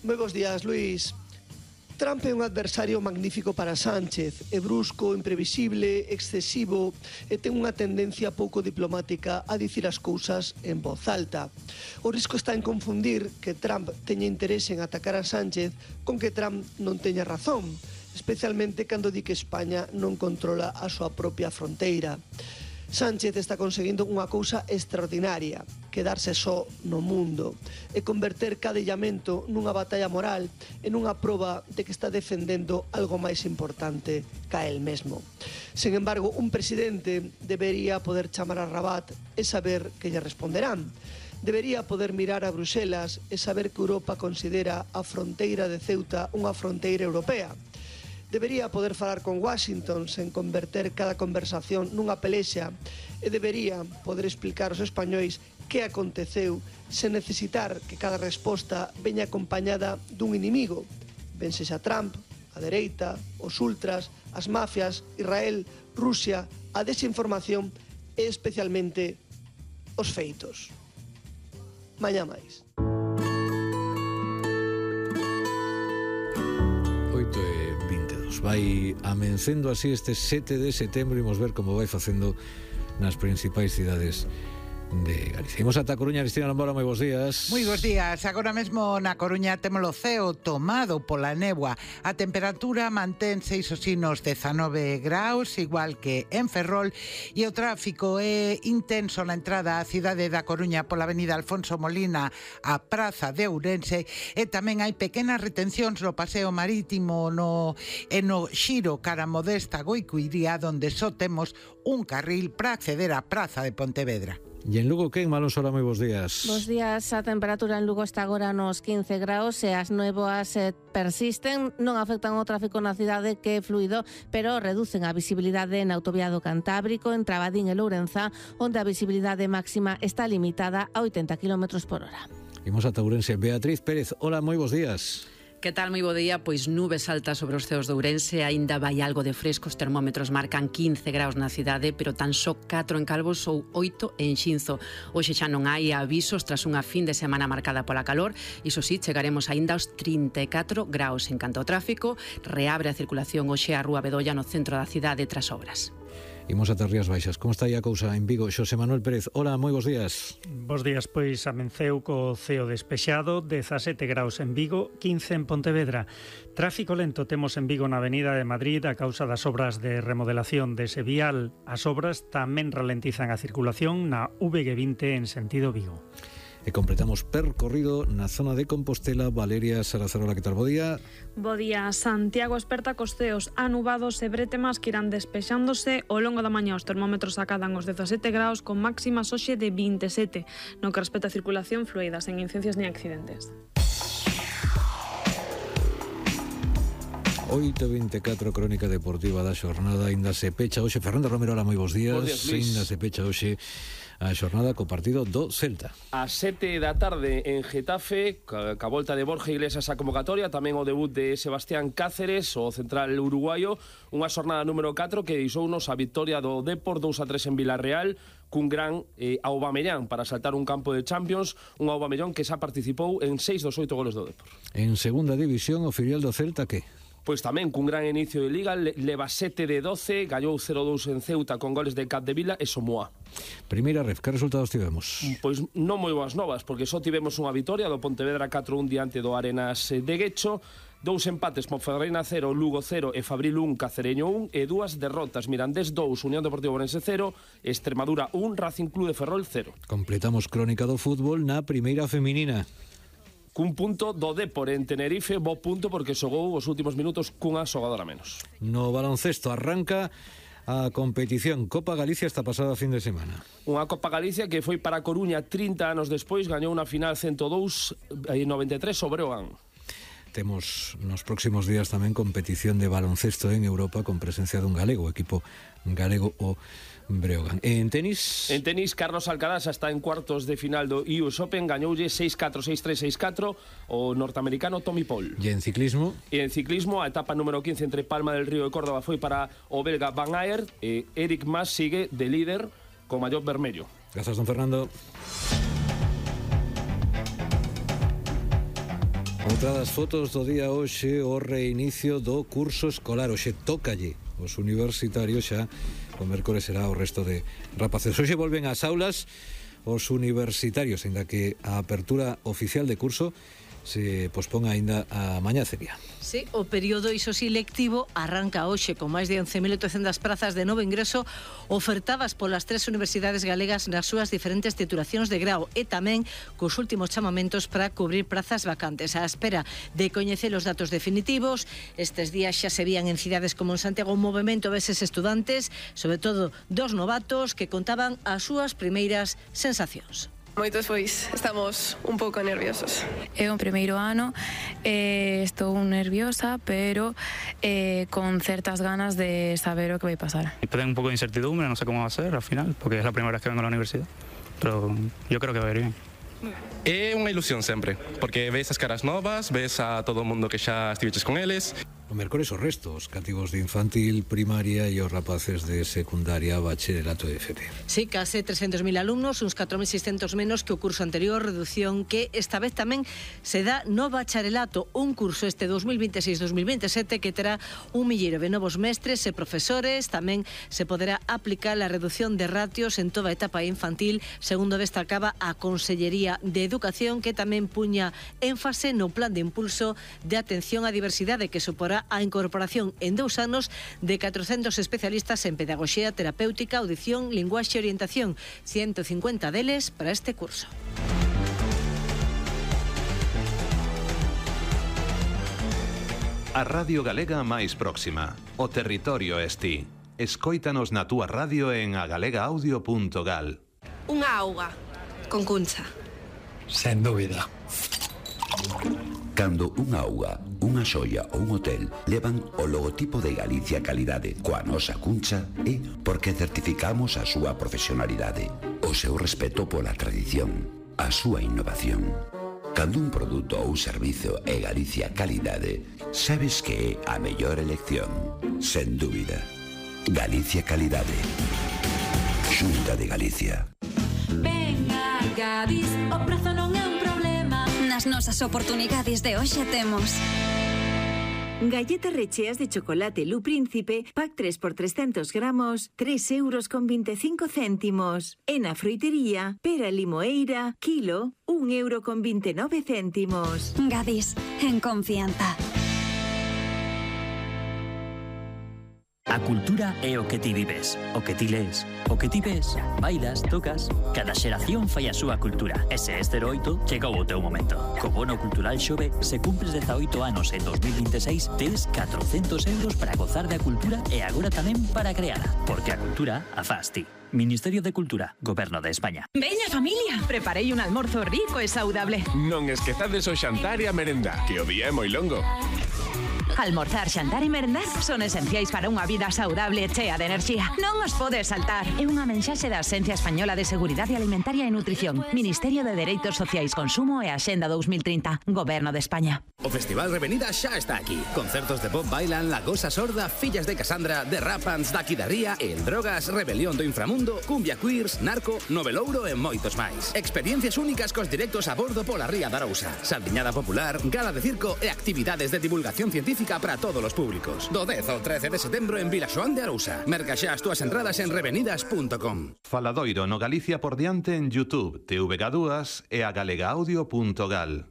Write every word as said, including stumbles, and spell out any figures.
Moi bons días, Luís. Trump é un adversario magnífico para Sánchez, é brusco, imprevisible, excesivo e ten unha tendencia pouco diplomática a dicir as cousas en voz alta. O risco está en confundir que Trump teña interese en atacar a Sánchez con que Trump non teña razón, especialmente cando di que España non controla a súa propia fronteira. Sánchez está conseguindo unha cousa extraordinaria, quedarse só no mundo e converter cada illamento nunha batalla moral e nunha proba de que está defendendo algo máis importante ca el mesmo. Sen embargo, un presidente debería poder chamar a Rabat e saber que lle responderán. Debería poder mirar a Bruxelas e saber que Europa considera a fronteira de Ceuta unha fronteira europea. Debería poder falar con Washington sen converter cada conversación nunha pelexa e debería poder explicar aos españois que aconteceu sen necesitar que cada resposta veña acompañada dun inimigo, ben sexa Trump, a dereita, os ultras, as mafias, Israel, Rusia, a desinformación e especialmente os feitos. Mañá máis. oito e vinte e dous. Vai amencendo así este sete de setembro. Imos ver como vai facendo nas principais cidades de Galicia. Imos ata Coruña. Cristina Lambora, moi bons días. Moi bons días. Agora mesmo na Coruña temos o ceo tomado pola néboa. A temperatura mantense iso sí nos dezanove graus, igual que en Ferrol, e o tráfico é intenso na entrada á cidade da Coruña pola avenida Alfonso Molina a Praza de Ourense, e tamén hai pequenas retencións no paseo marítimo no, e no xiro cara Modesta Goicuiría, onde só temos un carril para acceder á Praza de Pontevedra. E en Lugo, quen? Malón Sola, moi bons días. Bos días. A temperatura en Lugo está agora nos quince graus e as néboas eh, persisten, non afectan o tráfico na cidade, que é fluido, pero reducen a visibilidade na autovía do Cantábrico, en Trabadín e Lourenza, onde a visibilidade máxima está limitada a oitenta kilómetros por hora. Imos ata Ourense. Beatriz Pérez, hola, moi bons días. Que tal, moi bo día? Pois nubes altas sobre os ceos de Ourense, aínda vai algo de fresco, os termómetros marcan quince graus na cidade, pero tan só catro en Calvos ou oito en Xinzo. Hoxe xa non hai avisos tras unha fin de semana marcada pola calor, iso sí, chegaremos aínda aos trinta e catro graus. En canto ao tráfico, reabre a circulación hoxe a Rúa Bedolla no centro da cidade tras obras. Imos ata Rías Baixas. Como está aí a cousa en Vigo? Xosé Manuel Pérez, hola, moi bons días. Bos días, pois amenceu co ceo despexado, dezasete graus en Vigo, quince en Pontevedra. Tráfico lento temos en Vigo na Avenida de Madrid a causa das obras de remodelación dese vial. As obras tamén ralentizan a circulación na V G vinte en sentido Vigo. E completamos percorrido na zona de Compostela. Valeria Sarazarola, que tal? Bo día. Bo día. Santiago esperta cos ceos anubados e bretemas que irán despexándose ao longo da mañá. Os termómetros acadan os dezasete graus con máximas hoxe de vinte e sete, no que respecta a circulación fluida, sen incidencias ni accidentes. oito e vinte e catro, crónica deportiva da xornada. Ainda se pecha hoxe. Fernando Romero, hola, moi bons días. Bos días, Luis. Ainda se pecha hoxe a xornada co partido do Celta. A sete da tarde en Getafe, ca, ca volta de Borja Iglesias a convocatoria, tamén o debut de Sebastián Cáceres, o central uruguayo, unha xornada número catro que deixounos a victoria do Depor dous a tres en Vilarreal, cun gran eh, Aubameyang para saltar un campo de Champions, un Aubameyang que xa participou en seis dos oito goles do Depor. En segunda división, o filial do Celta, que? Pois tamén cun gran inicio de Liga, leva sete de doce, gañou cero dous en Ceuta con goles de Capdevila e Somoa. Primeira ref, que resultados tivemos? Pois non moi boas novas, porque só tivemos unha vitoria do Pontevedra catro a un diante do Arenas de Guecho, dous empates, Ponferradina cero, Lugo cero e Fabril un, Cacereño un, e dúas derrotas, Mirandés dous, Unión Deportiva Ourense cero, Extremadura un, Racing Club de Ferrol cero. Completamos crónica do fútbol na primeira feminina. Cun punto do Depor en Tenerife, bo punto porque xogou os últimos minutos cunha xogadora menos. No baloncesto arranca a competición Copa Galicia esta pasada fin de semana. Unha Copa Galicia que foi para Coruña trinta anos despois, gañou unha final cento dous e noventa e tres sobre Ogán. Temos nos próximos días tamén competición de baloncesto en Europa con presencia dun galego, o equipo galego o Breogán. En tenis? En tenis, Carlos Alcaraz está en cuartos de final do U S Open, gañoulle seis catro, seis tres, seis catro o norteamericano Tommy Paul. E en ciclismo? E en ciclismo, a etapa número quince entre Palma del Río e Córdoba foi para o belga Van Aert e Eric Mas sigue de líder con mallot vermello. Grazas, don Fernando. Outra das fotos do día hoxe, o reinicio do curso escolar. Hoxe tócalle os universitarios, xa o mércores será o resto de rapaces. Hoxe volven ás aulas os universitarios, ainda que a apertura oficial de curso se pospón aínda a mañá sería. Sí, o período iso sí lectivo arranca hoxe con máis de once mil oitocentas prazas de novo ingreso ofertadas polas tres universidades galegas nas súas diferentes titulacións de grau e tamén cos últimos chamamentos para cubrir prazas vacantes. A espera de coñecer os datos definitivos, estes días xa se vían en cidades como en Santiago un movimento veses estudantes, sobre todo dos novatos que contaban as súas primeiras sensacións. Moitos, pois, estamos un pouco nerviosos. É o primeiro ano, eh, estou nerviosa, pero eh, con certas ganas de saber o que vai pasar. Tengo un pouco de incertidumbre, non sé como va a ser al final, porque é a primeira vez que vengo a la universidad, pero yo creo que va a ir bien. É unha ilusión sempre, porque ves as caras novas, ves a todo o mundo que xa estiveches con eles. O mércores o resto, os cativos de infantil, primaria e os rapaces de secundaria, bachillerato e F P. Sí, case trescentos mil alumnos, uns catro mil seiscentos menos que o curso anterior, reducción que esta vez tamén se dá no bacharelato, un curso este dos mil veintiséis dos mil veintisiete que terá un milleiro de novos mestres e profesores. Tamén se poderá aplicar a reducción de ratios en toda a etapa infantil, segundo destacaba a Consellería de Educación, que tamén puña énfase no plan de impulso de atención á diversidade que suporá a incorporación en dous anos de catrocentos especialistas en pedagogía terapéutica, audición, linguaxe e orientación, ciento cincuenta deles para este curso. A Radio Galega máis próxima, o territorio es ti. Escóitanos na túa radio en agalegaudio punto gal. Unha auga con cuncha. Sen dúbida. Cando unha auga, unha xoia ou un hotel levan o logotipo de Galicia Calidade coa nosa cuncha é porque certificamos a súa profesionalidade, o seu respeto pola tradición, a súa innovación. Cando un produto ou servizo é Galicia Calidade, sabes que é a mellor elección, sen dúbida. Galicia Calidade. Xunta de Galicia. Venga, Gadis, o prezo non é un problema. Nas nosas oportunidades de hoxe temos galletas recheas de chocolate Lu Príncipe, pack tres por trescentos gramos, tres euros con veinticinco céntimos. En a froitería, pera limoeira, kilo, un euro con veintinueve céntimos. Gadis, en confianza. A cultura é o que ti vives, o que ti lees, o que ti ves, bailas, tocas. Cada xeración fai a súa cultura. E se este cero oito, chegou o teu momento. Co bono cultural Xove, se cumpres dezaoito anos en dos mil veintiséis, tes catrocentos euros para gozar da cultura e agora tamén para creala. Porque a cultura a fas ti. Ministerio de Cultura, Goberno de España. Veña familia, preparei un almorzo rico e saudable. Non esquezades o xantar e a merenda, que o día é moi longo. Almorzar, xantar e merendar son esenciais para unha vida saudable e chea de enerxía. Non os podes saltar. É unha mensaxe da Axencia Española de Seguridade Alimentaria e Nutrición, Ministerio de Dereitos Sociais, Consumo e Axenda dos mil trinta, Goberno de España. O Festival Revenida xa está aquí. Concertos de pop bailan La Gosa Sorda, Fillas de Casandra, The Rapans, Daqui da Ría, El Drogas, Rebelión do Inframundo, Cumbia Queers, Narco, Novelouro e moitos máis. Experiencias únicas cos directos a bordo pola Ría da Arousa. Saldiñada popular, gala de circo e actividades de divulgación científica para todos os públicos. Do dez ao trece de setembro en Vilaxoán de Arousa. Merca xa as túas entradas en revenidas punto com. Faladoiro no Galicia por diante en YouTube, T V G dúas e a galegaudio punto gal.